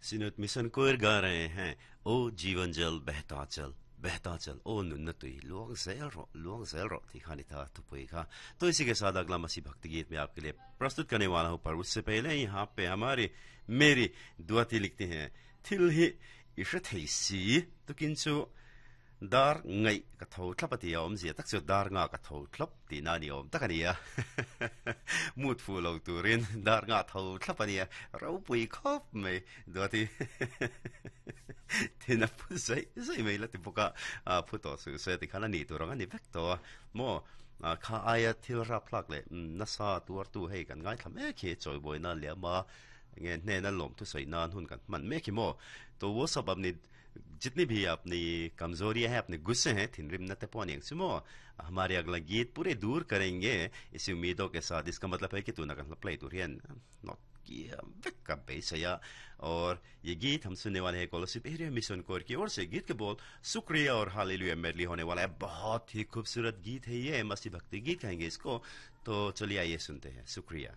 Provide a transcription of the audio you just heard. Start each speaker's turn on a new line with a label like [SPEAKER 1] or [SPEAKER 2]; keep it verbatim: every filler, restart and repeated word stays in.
[SPEAKER 1] Synod mission कोयर गा रहे हैं, ओ जीवन जल बहता चल बहता चल, ओ नुन्न तुई Luong zel ro Luong zel ro थी था थुपुई खा। तो इसी के साथ अगला मसीह भक्ति गीत मैं आपके लिए प्रस्तुत करने वाला हूँ, पर उससे पहले यहाँ पे हमारी मेरी दुआती लिखते हैं, थिल ही इशथैसी तो किंचु dar ngai ka tho thlap ati awm zia tak chu dar nga ka tho thlap ti na ni awm tak ania mut fu lo turin dar nga tho thlap ania ro pui khop mai duati thina phu zai zai mai la ti buka a phu to su se ti khana ni turang ani vek to mo kha aya thil rap hlak le na sa tuar tu hei kan ngai tham e khe choi boi na le ma nge hne na lom thu soi nan hun kan man me khi mo तो वो सब अपनी जितनी भी अपनी कमजोरियां हैं, अपने गुस्से हैं, थिनरिम न ते सुमो हमारे अगला गीत पूरे दूर करेंगे इसी उम्मीदों के साथ। इसका मतलब है कि तू ना प्ले not किया। और ये गीत हम सुनने वाले हैं कोलोसिप area mission core की ओर से। गीत के बोल शुक्रिया और हालेलुया मेडली होने वाला है। बहुत ही खूबसूरत गीत है ये, मसीह भक्ति गीत कहेंगे इसको। तो चलिए आइए सुनते हैं शुक्रिया।